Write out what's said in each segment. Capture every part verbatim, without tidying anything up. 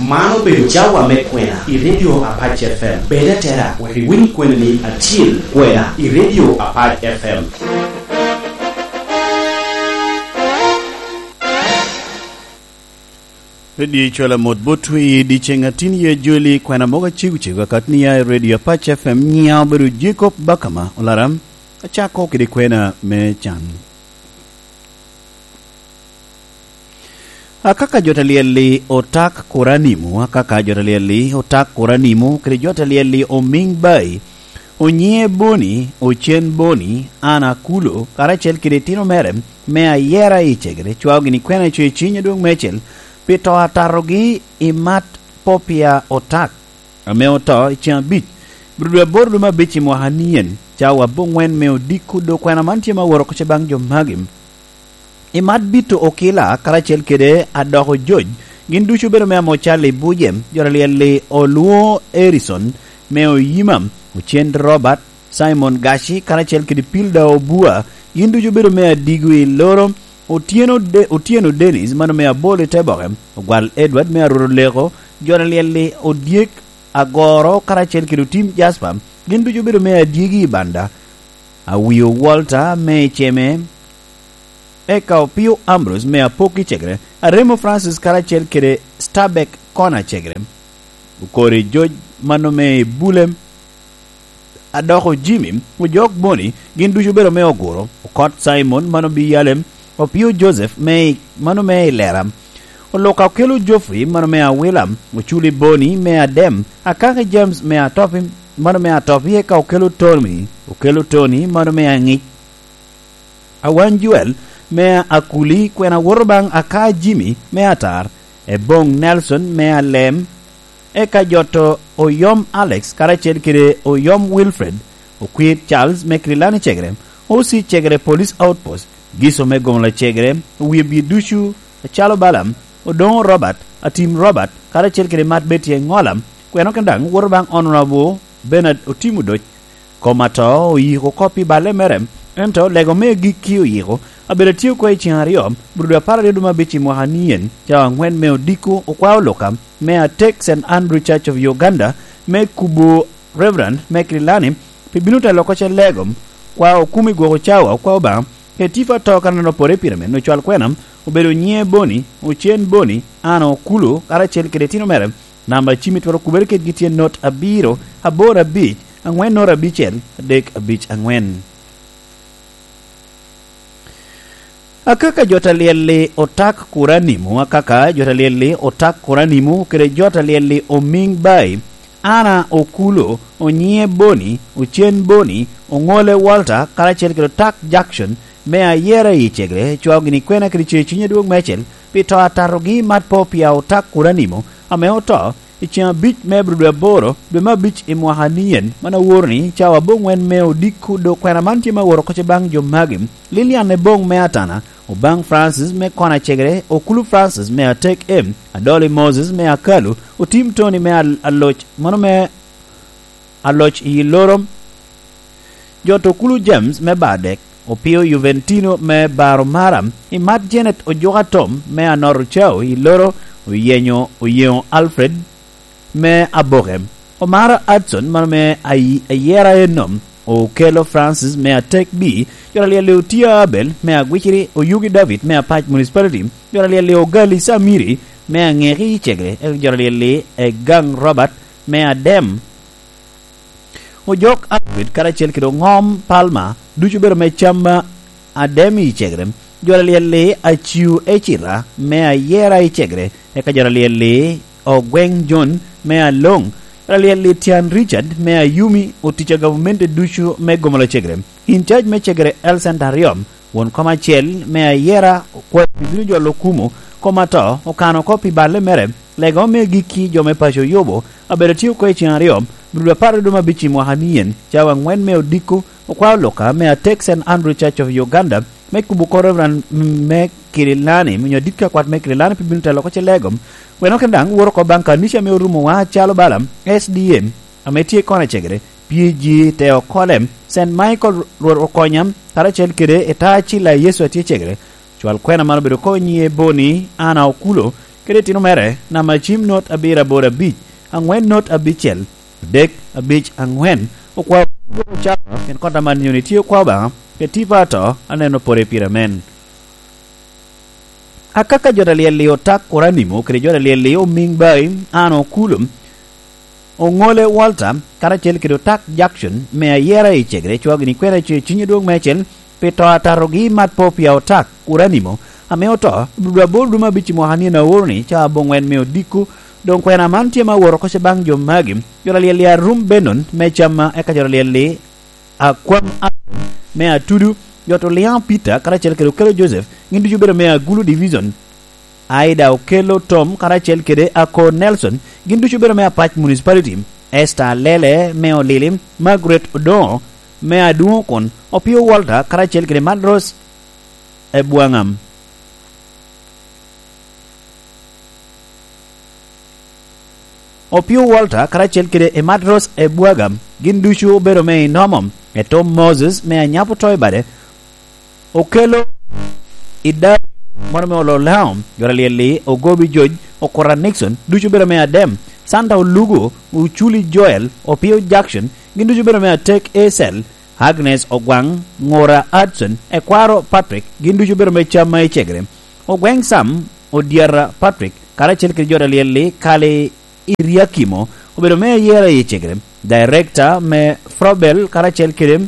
Man obedo cawa me kwena i Radio Apac F M. Bed atera wek iwiny kweni ni acil kwena i Radio Apac F M. Redio Cola mot botwu i dyeceŋ atin ye joli, kwena mogo acego cego akati ni ya i Radio Apac F M, nyiŋa obedo Jacob Bakama Olaram. Acako kede kwena me can. Akaka jo ta lyel-li otak kur animo, akaka jo ta lyel-li otak kur animo, kede jo ta lyel-li omiŋ bai, onyiŋe Boni, ocen Boni, an Akulo, karacel kede itino mere, me ayera i cegere, cwao gini kwena i coc i ciny adwoŋ meicel, pi to atatogi i mat Popia Otak, ame oto i ceŋ abic, bro dwe aboro dwe me abic i mwaka ni en, cawa aboŋwen me odiko do kwena man tye ma woro oko ce baŋ jo magi. I mat Bito Okila karacel kede Adoko Joc, gin ducu obedo me Amocal i Bujem, jo ta lyel-li Oluo Erison, me Oyima, Ocen Robert, Simon Gaci, karacel kede Pilda Obua, gin ducu obedo me Adigo i Loro, Otyeno De-, Otyeno Dennis, mano me Abol i Teboke, Ogwal Edward me Arwot Oleko, jo ta lyel-li Odyek Agoro, karacel kede Otim Jasper, gin ducu obedo me Adyegi i Banda, Awio Walter me Iceme, eka Opio Ambrose me Apok i Cegere, Aremo Francis karacel kede Stabek Kona Cegere, Okori Joc mano me Bule, Adoko Jimmy, Ojok Boni, gin ducu obedo me Oguro, Okot Simon mano bi Yalem, Opio Joseph me i-, mano me Ilera, Oluka Okelo Geoffrey mano me Awila, Oculi Boni me Adem, Akaki James me Atopi, mano me Atopi, eka Okelo Tony, Okelo Tony mano me Aŋic, Awany Joel me Akuli, kwena woto baŋ Aka Jimmy me Atar, Eboŋ Nelson me Alem, eka joto Oyom Alex karacel kede Oyom Wilfred, Okwir Charles me Kirilani Cegere, Osi Cegere Police Outpost, Giso me Gomola Cegere, Owie Bie Ducu, Acalo Balaam, Odoŋo Robert, Atim Robert, karacel kede Mat Betty Eŋola, kwena kene daŋ woto baŋ Honorable Bernard Otim Odoc. Kom ato oyiko kop i balle mere, ento lego me agikki oyiko, abedo atye oko i ceŋ aryo, bro dwe apar aryo dwe me abic i mwaka ni en, cawa aŋwen me odiko okwao luka, me atek Saint Andrew Church of Uganda, me kubo Reverend Mekri Lani, pi bino telo oko ce lego, kwa okumi gwoko cawa okwa Obaŋa, kede tipo ato kan an opore i pire men, ocwal kwena, obedo nyiŋe Boni, Ocen Boni, Ana Okulu, karacel kede itino mere, namba cim itwero kubere kedgi tye not abiro, aboro abic, aŋwen noto abicel, adek abic aŋwen. Akaka jo ta lyel-li otak kur animo, akaka jo ta lyel-li otak kur animo, kede jo ta lyel-li omiŋ bai, Ana Okulo, Onyiŋe Boni, Ocen Boni, Oŋole Walter, karacel kede otak Jackson, me ayera i Cegere, cwao gini kwena kede cer cwiny adwoŋ meicel, pi to atatogi mat po pia otak kur animo, ame oto, i ceŋ abic me Abril dwe aboro, dwe me abic i mwaka ni en, man aworo ni cawa aboŋwen me odiko do kwena man tye me aworo oko ce baŋ jo magi, Lilian Eboŋ me Atana, Obaŋ Francis me Kona Cegere, Okulu Francis me Atek M, Adoli Moses me Akalu, Otim Tony me Al-, Aloc, mano me Aloc i Loro, Jot Okulu James me Badek, Opio Juventino me Baro Mara, Imat Janet Ojuka Tom me Anor Ocao i Loro, Oyenyo, Oyeŋo Alfred me Aboke, Omara Adson mano me Ayi-, Ayera Enom, Okelo Francis me Atek B, Jot Alyel Otia Abel me Agwiciri, Oyugi David me Apac Municipality, Jot Alyel Ogali Samiri me Aŋeki i Cegere, eka Jot Alyel Egang Robert me Adem. Ojok Alfred karacel kede Oŋom Palmer ducu obedo me cam a Ademi i Cegere. Jo alyel-li Aciu Ecira me Ayera i Cegere, eka jo alyel-li Ogweŋ John me Aloŋ, jo alyel-li Tyan Richard me Ayumi, otic a gavumenti ducu me Gomola Cegere. In cac me Cegere Health Center aryo, Won kom acel me Ayera okwayo pi bino jolo Okumu, kom ato okano oko pi balle mere, lega me agikki jo me paco Yubu, abedo tye oko i ceŋ aryo, Abril apar kede abic i mwaka ni en, cawa aŋwen me odiko, okwao luka me Atek Saint Andrew Church of Uganda, me kubo oko Reverend me Kirilani, onyo adit ka kwat me Kirilani pi bino telo oko ce lego, weno kene daŋ woro oko baŋ kanica me Orumowa acalo bala, S D M, ame tye i kona cegere, P G te okole, Saint Michael Rwot Okonya, karacel kede Eta Acila Yecu atye cegere. Cwal kwena man obedo oko nyiŋe Boni Ana Okulo, kede itino mere, namba cim not abiro aboro abic, aŋwen not abicel, adek abic aŋwen. Okwao cawa, pien kota man nyoni tye okwa Obaŋa, kede tipo ato, aneno pore pire amen. Akaka jo ta lyel-li Otak Oranimo, kede jo ta lyel-li Omiŋ Bai, Ano Okulu, Oŋole Walter, karacel kede Otak Jackson, me ayera i Cegere, cwao gini kwena ce ciny adwoŋ meicel, pi to atatogi mat po pia Otak Oranimo, ame oto, i dwe aboro dwe me abic i mwaka nino aoro-ni, ca aboŋwen me odiko. Doŋ kwena man tye ma aworo oko ce baŋ jo magi, jo ta lyel-li Arum Benon, me Camma, eka jo ta lyel-li Akwam Aron, me Atudu, jo ta Oliaŋ Peter, karacel kede Okello Joseph, gin ducu obedo me Agulu Division, Aida Okello Tom karacel kede Akor Nelson, gin ducu obedo me Apac Municipality, Esther Alele me Olili, Margaret Odoŋo me Adwoŋokon, Opio Walter karacel kede Madros Ebwaŋam. Opio Walter karacel kede Emadros Ebwaga, gin ducu obedo me Inomo, Etom Moses me Anyapo Toibade, Okello Idario, mono me Ololao, jo ta lyel-li Ogobi George, Okura Nixon, ducu obedo me Adem, Santa Olugo, Oculi Joel, Opio Jackson, gin ducu obedo me Atek Esel, Agnes Ogwaŋ, Ŋura Hudson, Ekwaro Patrick, gin ducu obedo me Camma i Cegere, Ogweŋ Sam, Odyata Patrick, karacel kede jo ta lyel-li Kali Iriakimo, obedo me ayera i Cegere, Director me Frobel karacel kede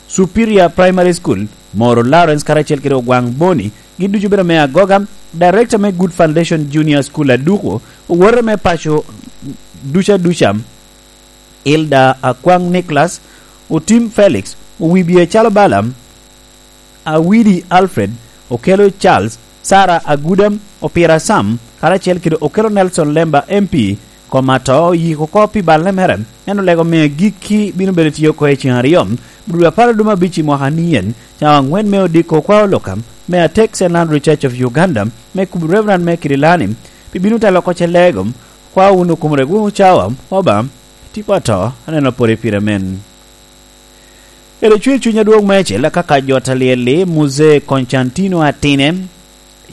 Superior Primary School, Moro Lawrence karacel kede Ogwaŋ Boni, gin ducu obedo me Agoga, Director me Good Foundation Junior School Aduko, owote me paco duca duca, Hilda Akwaŋ Nicholas, Otim Felix, Owibie Calo Balaam, Awidi Alfred, Okello Charles, Sarah Aguda, Opira Sam, karacel kede Okello Nelson Lemba M P, kom ato oyiko oko pi balle mere, en olego me agikki bino bedo tye oko i ceŋ aryo, dwe apar dwe me abic i mwaka nien, cawa aŋwen me odiko okwa oloka, me atek Saint Andrew Church of Uganda, me kubo Reverend me Kirilani, pi bino telo oko ce lego, kwa wunu kom rego cawa, oba, tipo ato, aneno pore pire men. Kede cwer cuny adwoŋ meicel, akaka jo ta lyel-li Muzee Konstantino Atine,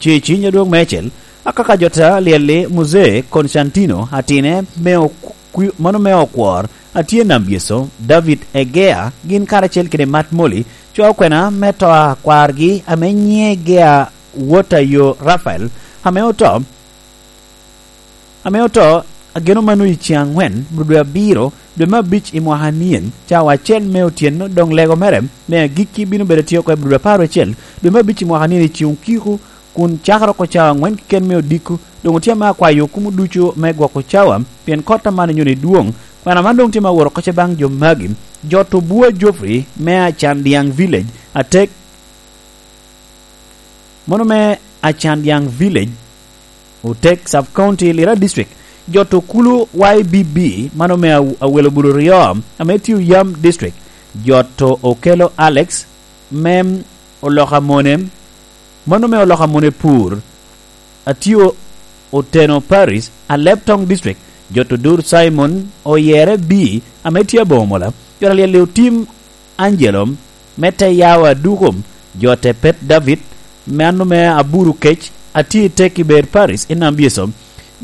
cwer cuny adwoŋ meicel, akaka jo ta lyel-li Muzee Konstantino Atine, me okwi-, mano me okwor, atye nam Yecu, David Egea, gin karacel kede Mat Moli, cwa okwena me to a kwargi ame nyiŋe Egea wot a yo Rafael, ame oto, ame oto, ageno mano i ceŋ aŋwen, dwe abiro, dwe me abic i mwaka anien, cawa acel me otyeno, doŋ lego mere me agikki bino bedo tye oko i dwe apar acel, dwe me abic i mwaka anien i ceŋ okiko, kun cakere oko cawa aŋwen keken me odiko, doŋ otye ame akwayo okumo ducu me gwoko cawa, pien kot aman nyoni dwoŋ. Kwena man doŋ tye ma woro oko ce baŋ jo magi, jo to bua Geoffrey me Acandiaŋ Village, atek, mono me Acandiaŋ Village, Otek Sub-County, Lira District, jo to kulu Y B B, mano me Aw-, Awelo Bulu Ryo, ame tye Oyam District, jo to Okello Alex, me Oloka Mone, mano me Oloka Mone Pur, atye Oteno Paris, Alep Town District, jo to Dur Simon, Oyere B, ame tye Aboŋo Mola, jo ta lyel-li Otim Angelo, me te yawa duko, jo te Pet David, me ano me Aburu Kec, atye i Tekiber Paris, i Nambieso,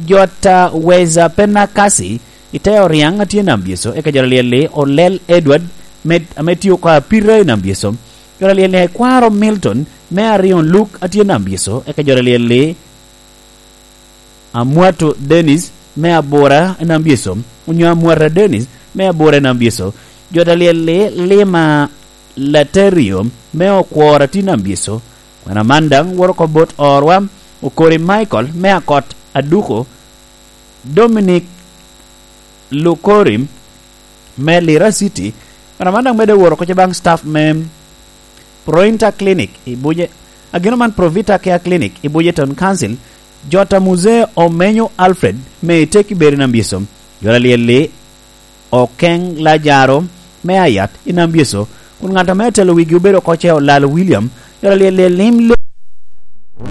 jo ta Weza Penakasi, i te Oriaŋ, atye i Nambieso, eka jo ta lyel-li Olel Edward, me, ame tye oko Apira i Nambieso, jo ta lyel-li Ekwaro Milton, me Arion Luke, atye i Nambieso, eka jo ta lyel-li Amwato Dennis me Abura i Nambieso, onyo Amwata Dennis me Abura i Nambieso, jo ta lyel-li Lima Laterio me Okwor atye i Nambieso, kwena man daŋ woro oko bot orwa, Okori Michael me Akot Aduko, Dominic Lukori me Lira City, kwena man daŋ medde woro oko ce baŋ staff me Prointa Clinic i Buje-, ageno man Provita Care Clinic i Bujeton Council, jo ta Muzee Omenyo Alfred me Iteki Beri Nambieso, jo ta lyel-li Okeŋ Lajaro me Ayat i Nambieso, kun ŋat ame atelo wigi obedo oko ce Olal William, jo ta lyel-li Lim Le-,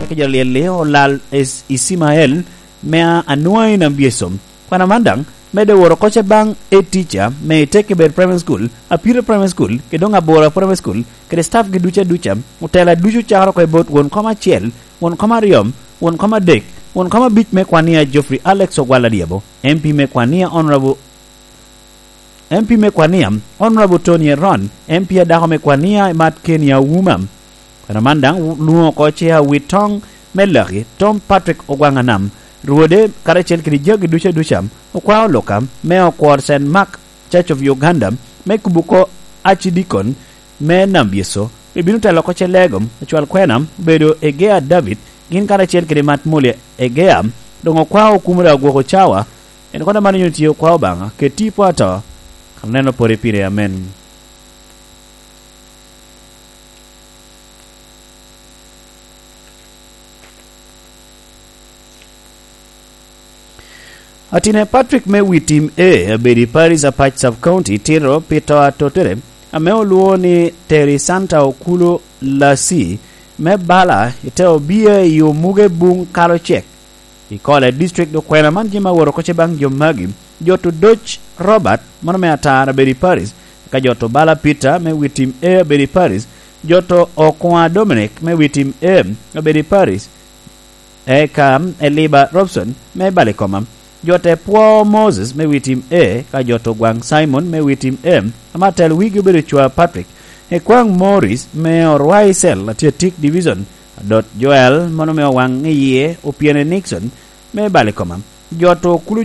eka jo ta lyel-li Olal Is-, Isimael me Anua i Nambieso. Kwena man daŋ, medde woro oko ce baŋ e teacher me Itekibet Primary School, Apiro Primary School, kede doŋ Abora Primary School, kede staff gi duca duca, otela ducu cakere oko i bot won kom acel, won kom aryo, won kom adek, Won kom abic me Kwania Geoffrey Alex Ogwal Adyabo, M P me Kwania Honorable M P me Kwania, Honorable Tony Eron, M P adako me Kwania Emat Kenya Wuma. Kwena man daŋ lwoŋo oko ce awi toŋ me Laki, Tom Patrick Ogwaŋ Anam, Rwode karacel kede jagi duca duca, okwao Luka me okor Saint Mark Church of Uganda, me kubo oko acidikon me Nambyeso, ebino telo oko ce lego, acwal kwena obedo Egea David, gin karacel kede Mat Mulia Egea, doŋ okwao okumere agwoko cawa, en kono man onyo tye okwao Obaŋa, keti po ato, aneno pore pire, amen. Atine Patrick me wi tim A, abedo i Paris Apac Sub County, tito pi to atotere, ame olwoŋo ni Terry Santa Okulo Lasi, me bala i te obia i omuge buŋ kalo cek. I Kole District, okwena man jami aworo oko ce baŋ jo magi, Joto Doc Robert, mano me Atar, abedo i Paris, ka Joto Bala Peter me wi tim A, abedo i Paris, Joto Okoŋa Dominic me wi tim A, abedo i Paris, eka Eliba Robson me Balikoma, Joto Epwo Moses me wi tim A, ka Joto Gwaŋ Simon me wi tim A, ame atel wigi obedo Cwa Patrick, Ekwaŋ Morris me Orwai Cell, Atyatik Division, Adot Joel, mano me Owaŋ Iye, Opiene Nixon me Balikoma, Joto Okulu